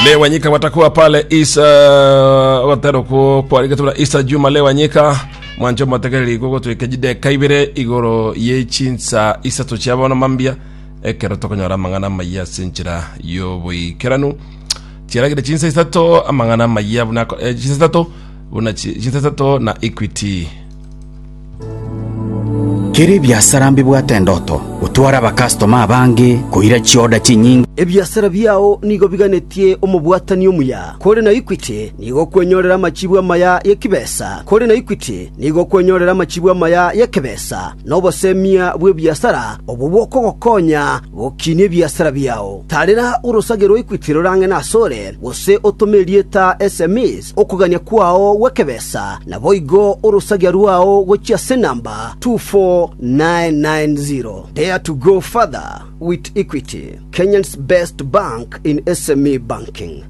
Lewanyika watakuwa pale Isa ogotera okwo kwarigete buna Isa Juma Lewanyika mwanche omotegereri gogotwika chideka ibere igoro ye chinsa isato chia bono mambia ekero tokonyora amang'ana amaya ase enchera y'oboikeranu chiaragire chinsa isato amang'ana amaya buna eh, chinsa isato buna chi- chinsa isato na Equity. Kera ebiasara mbibwate endoto, gotwara abakastoma abange, koira chioda chinyinge. Ebiasara biao nigo biganetie omobwatani omuya. Kore na Equity nigo okwenyorera amachibu amaya y'ekibesa. Kore na Equity nigo okwenyorera amachibu amaya y'ekebesa na obosemia bw'ebiasara obwo bokogokonya gokinia ebiasara biao. Tarera orosage rwa Equity rore ang'e nasore, gose otome erieta SMEs okogania kwao gw'ekebesa, naboigo orosagia rwao gochia ase enamba 24990. Dare to go further with Equity, Kenya's best bank in SME banking.